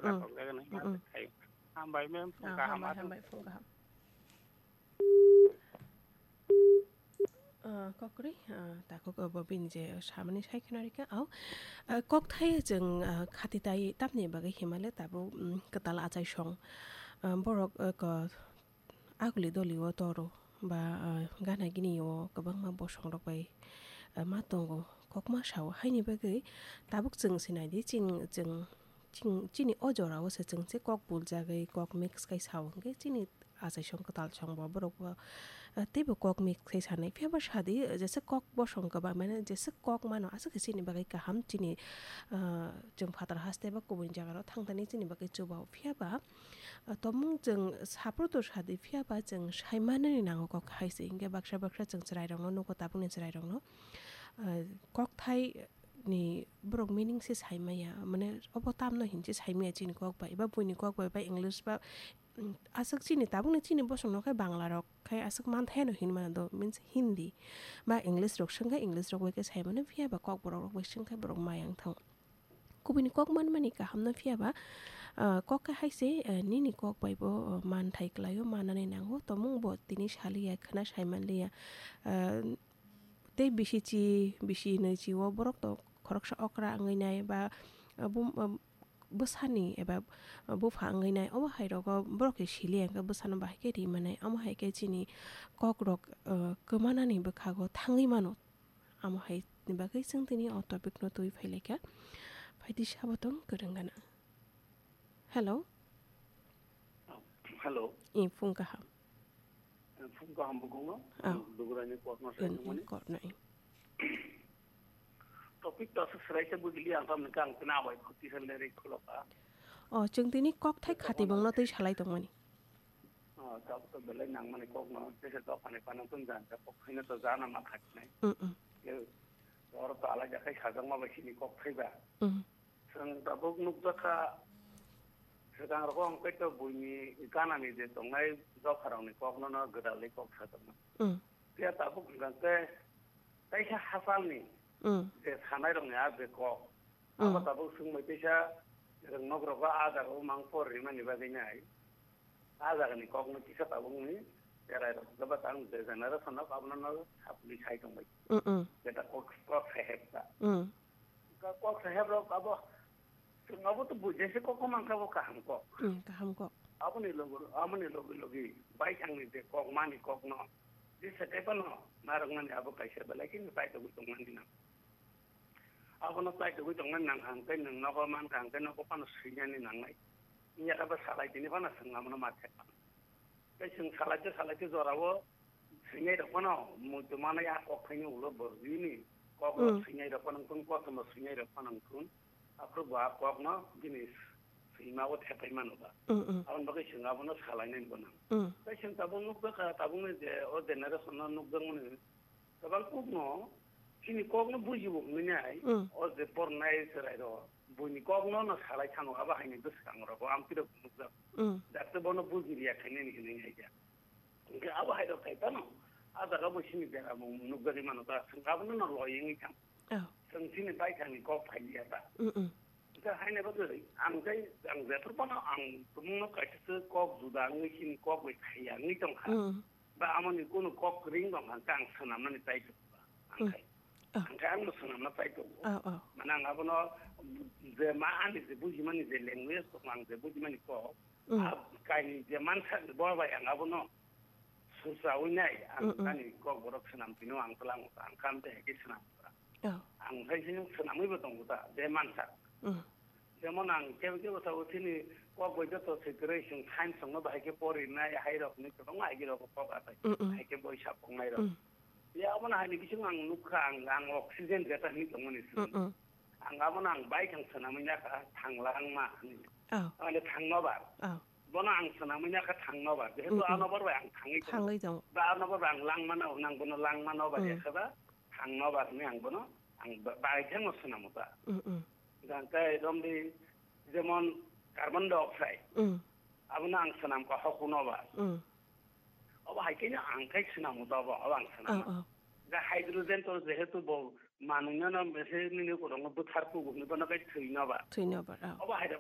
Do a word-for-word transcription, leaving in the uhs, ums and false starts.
Mm-mm. Natok jagani Mm-mm. Hambai mem, phung Ah, kaham hambai, aswk. Hambai, phung kaham. Ah, kokri, ah, takhuk obo bini je samani sai kheno rikha, au. Ah, kokthai chwng, ah, khati tai tamni bagwi himale tabuk, mm, kwtal achai song. Ah, borok, ah, ko, aguli doli o toro ba, ah, gana gini o kwbangma bosong rok bai, ah, ma tongo, kokma sao. Haini bagwi tabuk chwng se naidi, chini, chwng, chini, chini o jora o se chwng se kok buljagwi, kok mix khai sao hwnkhe chini achaisong kwtalsong bo borok bo, ah, teibo kok mix khai sanai. Phiya ba sadi, jesa kok bosong kwbang mane, jesa kok mano aswk khe chini bagwi kaham, chini, ah, chwng phatar haste ba kubun jaga rok thang thani chini bagwi chuba o. Phiya ba, ah, tomung chwng saproto sadi, phiya ba chwng sai manani nango kok hai se. Hinkhe baksa baksa chwng chwrai rokno nugo, tabukni chwrai rokno, ah, kokthai ni borok meaning se sai maya, mane obo tamno hinse sai maya chini kok bai, ba buini kok bai, ba English ba, mm, aswk chini tabukni chini bosongno khe Bangla rok khai aswk manthai no hinmano do, means Hindi ba English rok swngkhe English rok bai khe sai mano, phiya ba kokborok rok bai swngkhe borok mayang thang. Kubuni kok manmani kahamno phiya ba, ah, kok khe hai se, ah, nini kok bai bo, ah, manthai kwlaio, manani nango, tomung bo tini saliya, khwna sai manliya, ah, tei bisi chi, bisi nwi chi o borok to khoroksa okra wngwi nai ba, ah, bum-, ah, bwsani eba, ah, bupha wngwi nai, omo hai rogo borok khe siliya hwnkhe bwsano bahai khe ri manai, omo hai khe chini kok rok, ah, kwmanani bwkhago thangwi mano. Amo hai ni bagwi chwng tini o topic no twi phai lai kha. Phaidi sabo tong kwrwng gana. Hello. Hello. I phung kaham. Phung kaham bukungo. Ah. Dugrani kok no sai Kok no i. Topic to aswk swrai se bujili ang tamni kang tini awai khuti hal le ri khulok a. O chwng tini kok thai khati bongno twi salai tongmani. Ah, tabuk to belai nangmani kok no, tesa dophani panang tun jan, ta kok khaina to jana ma khatinai. Mm, mm. Ke, oro to alai jakai sajak ma bai sini kok thaiba. Mm. Chwng tabuk nukjakha, swkang rogo ang khe to buini ganani je tongnai dopharokni kok no, no gwdalwi kok sajakma. Mm. Phiya tabuk hwnkha khe, kaisa hachalni Mm. je sanairokni a je kok, abo Mm. tabuk swngbai teisa rwngnok rogo a jagao mang por rimani bagwi nai. A jagani kokno kisa tabukni cherai rok. Joba tang je generation rok abono no sapli sai tongbai. Mm, mm. Jeta kok, kok saheb ta. Mm. Ka-, kok saheb rok abo, chwng abo to bujese kok mankha bo kaham kok. Mm, kaham kok. Aboni logo, aboni logi logi baithangni je kok mani kokno, je sekai phano narwknani abo kaisa belai kheno tai tongwi tongmani nang. Abono tai tongwi tongmani nang kha hwnkhe nwng nogo man kha hwnkhe nogo phano swinani nangnai. Wngya khe bo salai tini phano chwng abono ma thepha. Tei chwng salai khe salai khe jorao swinai rok phano muitu manai a kok phaini ulo borok bini kok rok Mm. swinai rok phano wngkun, kothoma swinai rok phano wngkun. Aphuru bo a kokno bini swima o thepai mano ba. Mm, mm. Aboni bagwi chwng abono salainani bo nang. Mm. Tei chwng tabuk nukjakha, tabukni je o generation no nukjakmani kwbang kokno, chini kokno bujibo hwnwi nai, Mm. o je pornai chwrairok, buini kokno no salai thano, abo haini bwskangrogo amtwirok nukjak. Mm. Dakte bono bujiliya khainani hinwi nai kha. Hwnkhe abo hairok khai phano, a jaga bo chini beramung nukjagwi mano ta, chwng abono no loi wngwi thang. Oh. Chwng chini baithangni kok phailiya ta. Mm, mm. Hwnkhe haini bagwi ang tei, ang jephru phano ang tumungno kaisa se kok juda wngwi chini kok bai khaiya wngwi tongkha. Mm. Ba amoni kunu kok ring tong kha, ang swnamnani chai tongo ba. Ang Mm. khai. Oh. Ang khai angno swnamna chai tongo. Oh, oh. Mane ang abono je ma ani je bujimani je language tong, ang je bujimani kok, Mm. a kaini je mansa bo bai ang abono sursawi nai, ang Mm, mm. ani kok borok swnam tino ang tlang ang kam te heke swnam. Oh. Ang khai se swnamwi bo tongo ta, je mansa. Mm. Jemon ang kebo kebo tabuk chini kok bai joto se kwrwi chwng science rokno bahai khe porinai hai rokni kwbangma agi rok kok atai Mm, mm. hai khe boi sapongnai rok. Mm. Ya abono hai ni bising ang nukha ang, ang oxygen jeta hinwi tongmani Mm, simi. Mm. Ang abono ang bike ang swnamwi nakha thang langma hinwi. Oh. Mane thang nobar. Oh. Bono ang swnamwi nakha thang nobar. Jehetu Mm, mm. a nobar bai ang thangwi tongo. Thangwi tongo. Ba a nobar bai ang langmano, nang bono langma nobar Mm. ya khe ba thang nobar hinwi ang bono ang ba-, bike ang swnamo ta. Mm, mm. Jang khe romdi jemon carbon dioxide. Mm. Abono ang swnam kha hokuno ba. Mm. Obo hai khe ang khai swnamo to obo, obo ang swnamo. Oh, oh. Da hydrogen to jehetu bo manwino no mese nini korokno bwthar kugo hwnwi bono khai thwino ba. Thwino ba, oh. Obo hai rok